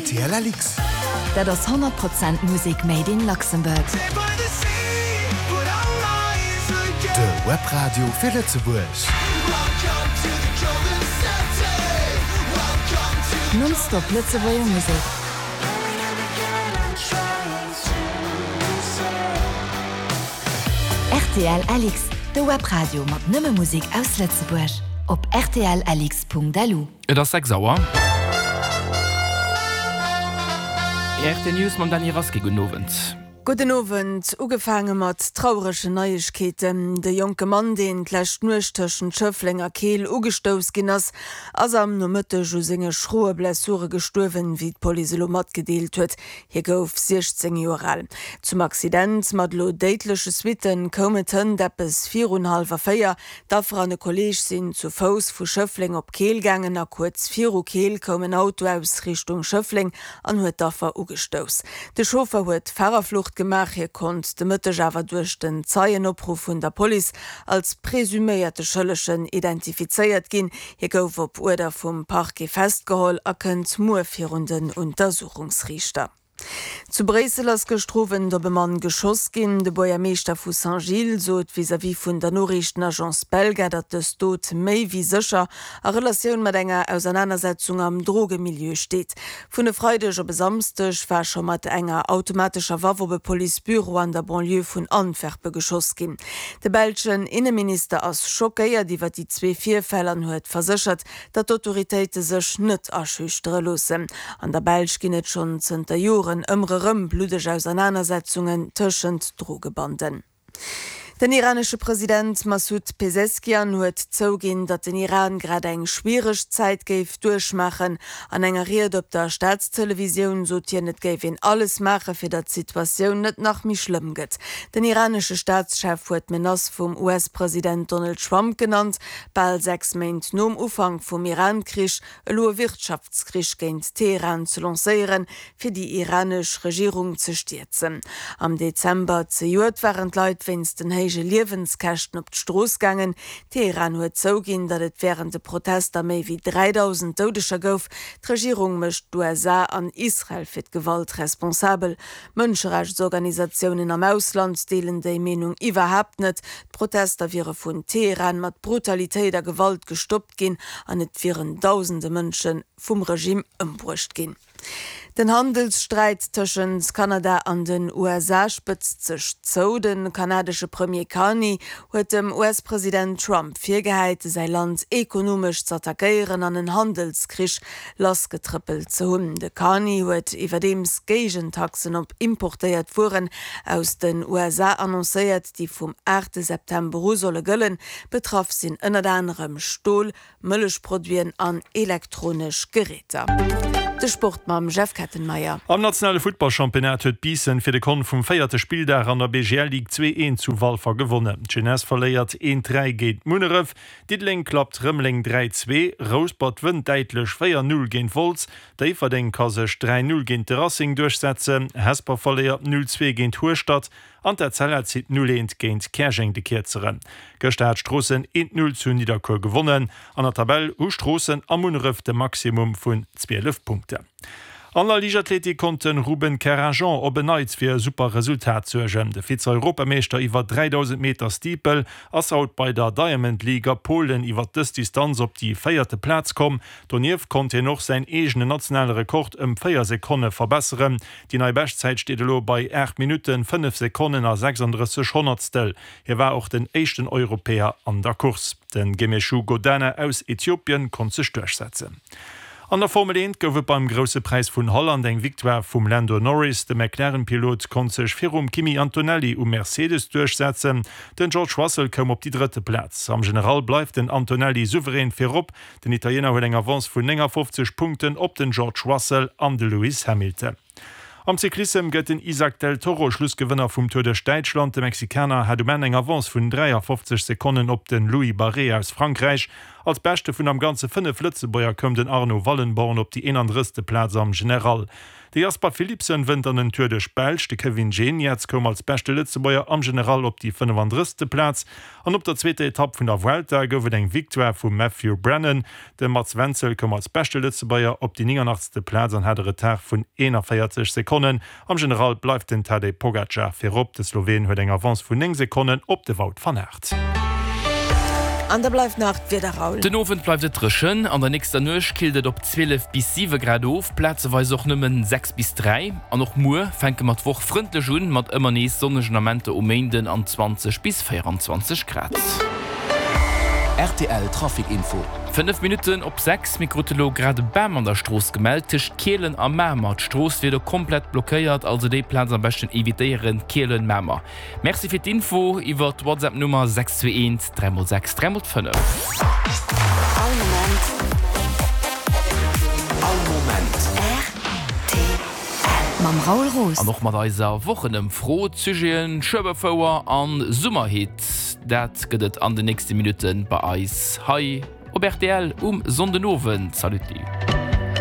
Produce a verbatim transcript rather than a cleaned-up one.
R T L L X. Dat ass honnert Prozent Musek made in Luxembourg. De Webradio fir Lëtzebuerg. Nonstop Lëtzebuerger Musek. R T L L X, de Webradio mat nëmme Musek aus Lëtzebuerg. Op R T L L X Punkt L U. Et ass sechs Auer. R T L News mam Dany Rasqué. Gudden Owend. Gudden Owend. Ugefaange mat trauregen Neiegkeeten. De jonke Mann, deen d'lescht Nuecht tëschent Schëffleng a Keel ugestouss ginn ass, ass am Nomëtteg u senge schroe Blessure gestuerwen, wéi d'Police elo matgedeelt huet. Hie gouf siechzéng Joer al. Zum Accident mat elo déidleche Suitten koum et hënt eppes virun hallwer véier. D'Affer an e Kolleeg sinn zu Fouss vu Schëffleng op Keel gaangen a kuerz viru Keel koum en Auto aus Richtung Schëffleng an huet d'Affer ugestouss. De Chauffer huet Fahrerflucht gemaach, hie konnt de Mëtteg awer duerch den Zeienopruff vun der Police als presuméierte Schëllegen identifizéiert ginn. Hie gouf op Uerder vum Parquet festgeholl a kënnt muer virun den Untersuchungsriichter. Zu Bréissel ass gëschter Owend op e Mann geschoss ginn. De Buergermeeschter vu Saint-Gilles sot vis-à-vis vun der Noriichtenagence Belga, datt dës Dot méi wéi sécher a Relatioun mat enger Ausernanersetzung am Drogemilieu steet. Vun e Freideg op e Samsdeg war scho mat enger automatescher Waff op e Policebüro an der Banlieue vun Antwerpe geschoss ginn. De belschen Inneminister ass schockéiert iwwer déi zwee Virfäll an huet verséchert, datt d'Autoritéite sech net aschüchtere loossen. An der Belsch ginn et schonn zënter Joren ëmmer erëm bluddeg Ausernanersetzungen tëschent Drogebanden. Den iranesche President Massoud Peseschkian huet zouginn, datt den Iran grad eng schwiereg Zäit géif duerchmaachen. An enger Ried op der Staatstelevisioun sot hien, et géif een alles maache fir datt d'Situatioun net nach méi schlëmm gëtt. Den iranesche Staatschef huet d'Menace vum U S-President Donald Trump genannt, bal sechs Méint nom Ufank vum Iran-Krich elo e Wirtschaftskrich géint Teheran ze lancéieren, fir déi iranesch Regierung ze stierzen. Am Dezember zejoert waren d'Leit wéinst den héije Liewenskäschten op d'Strooss gaangen. Teheran huet zouginn, datt et wärend de Protester méi wéi dräidausend Doudeger gouf. D'Regierung mécht d'U S A an Israel fir d'Gewalt responsabel. Mënscherechtsorganisatiounen am Ausland deelen déi Meenung iwwerhaapt net. D'Protester wiere vun Teheran mat Brutalitéit a Gewalt gestoppt ginn an et wieren dausende Mënsche vum Regime ëmbruecht ginn. Den Handelssträit tëschent Kanada an den U S A spëtzt sech zou. De kanadesche Premier Carney huet dem U S-President Trump virgehäit, säi Land ekonomesch z'attackéieren an en Handelskrich lassgetrëppelt ze hunn. De Carney huet iwwerdeems Géigentaxen op importéiert Wueren aus den U S A annoncéiert, déi vum aachte September u solle gëllen. Betraff sinn ënnert anerem Stol, Mëllechproduiten an elektronesch Geräter. De Sport mam Jeff Kettenmeyer. Am nationale Futtballchampionnat huet Biissen fir de Kont vum véierte Spilldag an der B G L Ligue zwee eent zu Walfer gewonnen. D'Jeunesse verléiert eent dräi géint Munneref, Diddeleng klappt Rëmeleng dräi zwee, Rouspert wënnt däitlech véier null géint Wolz, Déifferdeng ka sech dräi null géint de Racing duerchsetzen, Hesper verléiert null zwee géint Hueschtert an d'Etzella zitt null eent géint Käerjeng de Kierzeren. Gëschter hat Stroossen eent null zu Nidderkuer gewonnen. An der Tabell hu Stroossen a Munneref de Maximum vun zwielef Punkten. An der Liichtathletik konnt de Ruben Karajan op en Neits fir e super Resultat suergen. De Vize-Europameeschter iwwer dräidausend Meter Steeple ass haut bei der Diamond League a Polen iwwer dës Distanz op déi véierte Plaz komm. Donieft konnt hien och säin eegenen nationale Rekord ëm véier Sekonne verbesseren. Déi nei Beschtzäit steet elo bei aacht Minutten, fënnef Sekonnen a sechsanddrësseg Honnertstel. Hie war och den éischten Europäer an der Course. De Gemechu Godana aus Äthiopien konnt sech duerchsetzen. An der Formel eent gouf et beim Grousse Präis vun Holland eng Victoire vum Lando Norris. De McLaren-Pilot konnt sech virum Kimi Antonelli um Mercedes duerchsetzen. Den George Russell koum op déi drëtte Plaz. Am General bleift den Antonelli souverän virop. Den Italiener huet eng Avance vun néngafofzeg Punkten op den George Russell an de Lewis Hamilton. Am Cyclissem gëtt den Isaac del Toro Schlussgewënner vum Tour duerch Däitschland. De Mexikaner hat um Enn eng Avance vun dräiafofzeg Sekonnen op de Louis Barré aus Frankräich. Als beschte vun am ganze fënnef Lëtzebuerger koum den Arno Wallenborn op déi eenandrësste Plaz am General. De Jasper Philipsen wënnt an den Tour duerch d'Belsch, de Kevin Geniets koum als beschte Lëtzebuerger am General op déi fënnefandrësste Plaz an op der zweeter Etapp vun der Vuelta gouf et eng Victoire vum Matthew Brennan. De Mats Wenzel koum als beschte Lëtzebuerger op déi nénganachtste Plaz an hat e Retard vun eenavéierzeg Sekonnen. Am General bleift den Tadej Pogacar virop, de Sloween huet eng Avance vun néng Sekonnen op de Wout van Aert. An da bleift nach d'Wieder, Raoul. Den Owend bleift et dréchen, an der nächster Nuecht killt et op zwielef bis siwe Grad of, plazeweis och nëmmen sechs bis dräi. An och muer fänke mer d'Woch frëndlech un, mat ëmmer nees sonnegen Amenter um Méinden an zwanzeg bis véieranzwanzeg Grad. Rtl Trafic Info. Fënnef Minutten op sechs, Mir krute lo grad e Bam an der Strooss gemellt, tëscht Kielen a Mamer. D'Strooss wier do komplett blockéiert, also déi Plaz am beschten evitéieren, Kielen, Mamer. Merci fir d'Info iwwer d'Whatsapp Nummer sechs zwee eent dräi mol sechs dräi mol fënnef. All Moment. All Moment. Rtl mam Raoul Roos. An och mat eiser Wochenëmfro, d'Sujeten Schueberfouer an Summerhit, dat gëtt et an den nächste Minutten bei eis hei op rtl um Sonndenowend. Salut.